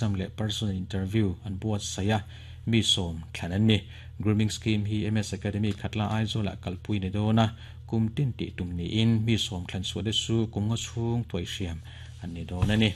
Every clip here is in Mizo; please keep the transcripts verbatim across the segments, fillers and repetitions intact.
Exam leh personal interview an buatsaih a, mi sawm thlan an ni. Grooming scheme hi M S Academy Khatla Aizawlah kalpui ni dawn a, kum tin tih tum niin mi sawm thlan chhuah te chu kum nga chhung tuai hriam an ni dawn a ni.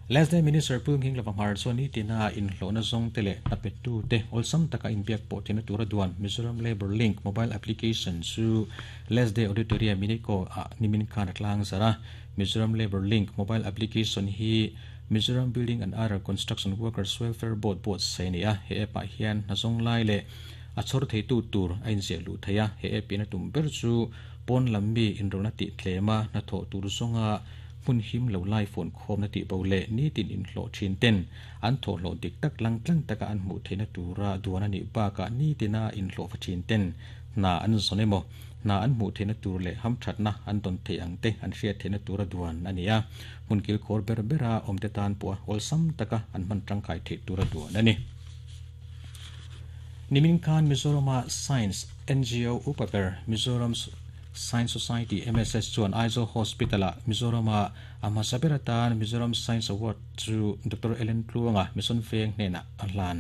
Lesday Minister Pu Nghing Lova Hmar chuan nitina inhlawhna zawng te leh hna pettu te awlsam taka inbiak pawh theihna tura duan Mizoram Labour Link mobile application chu Lesday Auditorium Minico ah nimin khan a tlang zarh a. Mizoram Labour Link mobile application hi Mizoram Building and Other Construction Workers Welfare Board buatsaih a ni a, he app ah hian hna zawng lai leh a chhawr theitu tur a inziah luh theih a, he app in a tum ber chu pawn lam mi inrawlhna tih tlem a, hnathawh tur zawnga hmun him lo lai fawn khawmna tih bo leh nitin inhlawh thin ten an thawhhlawh dik tak lang tlang taka an hmuh theihna tura duan a nih bakah nitina inhlawh va thin ten hna an zawn emaw hna an hmuh theihna tur leh hamthatna an dawn theih ang te an hriat theihna tura duan a ni a, hmun kilkhawr ber bera awmte tan pawha awlsam taka an hman tangkai theih tura duan a ni. Nimin khan Mizorama Science N G O upa ber Mizoram Science Society M S S chuan Aizawl Hospital-ah Mizorama a hmasa ber atan Mizoram Science Award chu Doctor Ellen Tluanga Mission Veng hnenah a hlan.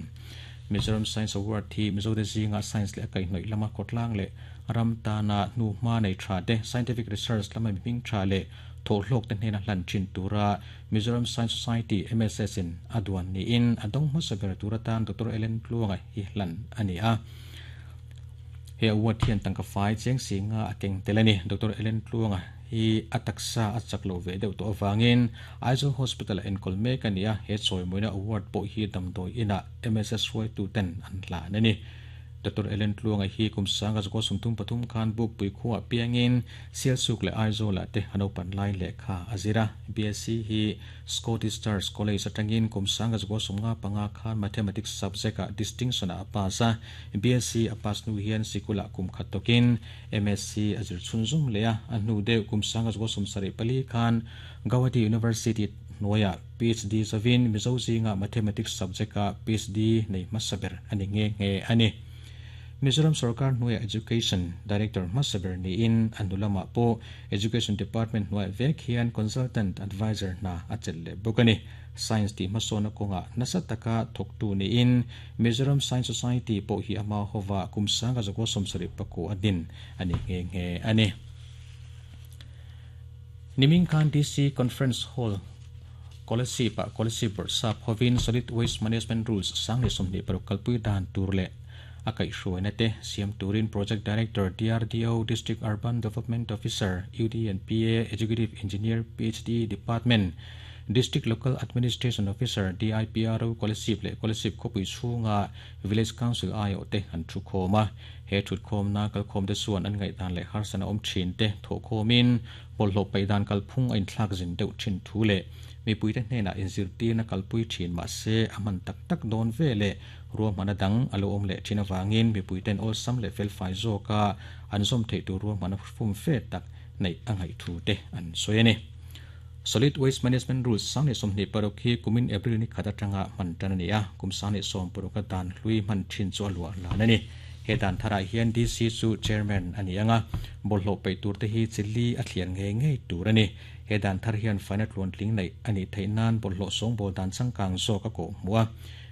Mizoram Science Award hi Mizote zinga science leh a kaihhnawih lama khawtlang leh ram tana hnu hma nei tha te, scientific research lama mihming tha leh thawhhlawk te hnena hlan thin tura Mizoram Science Society M S S in a duan niin a dawng hmasa ber tur atan Doctor Ellen Tluanga hi hlan a ni a. He award hian tangka fai cheng singa a keng tel a ni. Doctor Ellen Tluanga hi a taksa a chak lo ve deuh tawh avangin Aizawl Hospital a enkawl mek a ni a, he chawimawina award pawh hi damdawi inah M S S hruaitu ten an hlan a ni. Doctor Ellen Tluanga hi kum sanga zakua sawmthum pathum khan Bukpui khuaah piangin Sialsuk leh Aizawlah te a naupan lai lehkha a zir a. B S C hi Scottish Church College atangin kum sanga zakua sawmnga panga khan Mathematics subject ah distinction ah a pass a. B S C a pass hnu hian sikulah kum khat tawkin M S C a zir chhunzawm leh a. A hnu deuh kum sanga zakua sawmsarih pali khan Gauhati University hnuaiah P H D zavin Mizo zinga Mathematics subject ah P H D nei hmasa ber a ni nghe nghe a ni. Mizoram Sarkar hnuaiah Education Director hmasa ber niin a hnu lamah pawh Education Department hnuaiah vek hian Consultant Advisor hna a chelh leh bawk a ni. Science tih hmasawna kawngah nasa taka thawktu niin Mizoram Science Society pawh hi ama hova kum sanga zakua sawmsarih pakua a din a ni nghe nghe a ni. Nimin khan D C Conference Hall Kolasib ah Kolasib Bawrhsap hovin Solid Waste Management Rules sang leh sawmhnih paruk kalpui dan tur leh a kaihhruaina te siam turin Project Director D R D O, District Urban Development Officer, U D and P A, Executive Engineer P H D Department, District Local Administration Officer, D I P R O Kolasib leh Kolasib khawpui chhunga Village Council aiawh te an thu khawm a. He thutkhawmna kalkhawm te chuan an ngaihdan leh harsana awm thin te thawhkhawmin bawlhhlawh paih dan kalphung a inthlak zin deuh thin thu leh mipuite hnenah inzirtirna kalpui thin mahse a hman tak tak dawn ve leh ruahmanna dang a lo awm leh thin avangin mipuiten awlsam leh felfai zawka an zawm theih tur ruahmanna fum fe tak neih a ngaih thu te an sawi a ni. Solid Waste Management Rules sang leh sawmhnih paruk hi kumin April ni khat atanga hman tan a ni a, kum sang leh sawm paruk a dan hlui hman thin chu a luah hlan a ni. He dan tharah hian D C chu Chairman a ni anga, bawlhhlawh paih tur te hi chili a thliar ngei ngei tur a ni. He dan thar hian faina tluantling neih a nih theih nan bawlhhlawh sawngbawl dan changkang zawk a kawh hmuh a,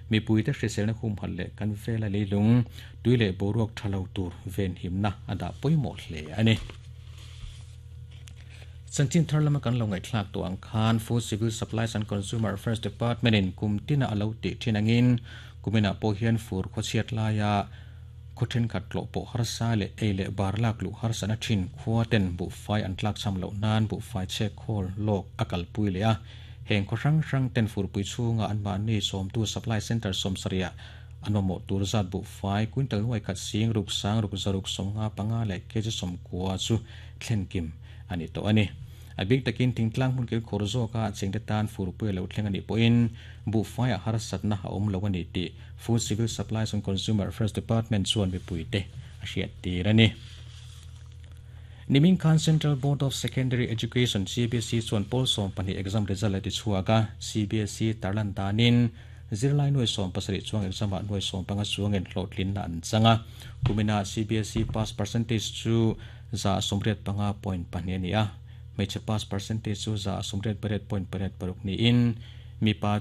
mipuite hriselna humhalh leh kan vela leilung tui leh boruak tha lo tur venhimna a dah pawimawh hle a ni. Chanchin thar lama kan lo ngaihthlak tawh ang khan Food Civil Supplies and Consumer Affairs Department in kum tina a lo tih thin angin kuminah pawh hian fur khawchhiat laia khaw thenkhat tlawh pawh harsa leh ei leh bar lak luh harsana thin khua ten buhfai an tlak cham loh nan buhfai chhek khawl lawk a kalpui leh a. Heng khaw hrang hrang ten furpui chhunga an mahni sawmtu supply center sawmsarih an mamawh tur zat buhfai quintal nuai khat sing ruk sang ruk zaruk sawmnga panga leh kg sawmkua chu thlenkim a ni tawh a ni. A bik takin thingtlang hmun kil khawr zawka chengte tan furpui a lo thleng a nih pawhin buhfai a harsatna a awm lo a ni tih Food Civil Supplies and Consumer Affairs Department chuan mipuite a hriat tir a ni. Nimin khan Central Board of Secondary Education C B S E chuan pawl sawm pahnih exam result a ti chhuak a. C B S E tarlan danin zirlai nuai sawm pasarih chuang exam ah nuai sawm panga chuangin hlawhtlinna an chang a. Kumina C B S E pass percentage chu za sawmriat panga point pahnih a ni a. Hmeichhe pass percentage chu za sawmriat pariat point pariat paruk niin Mi pa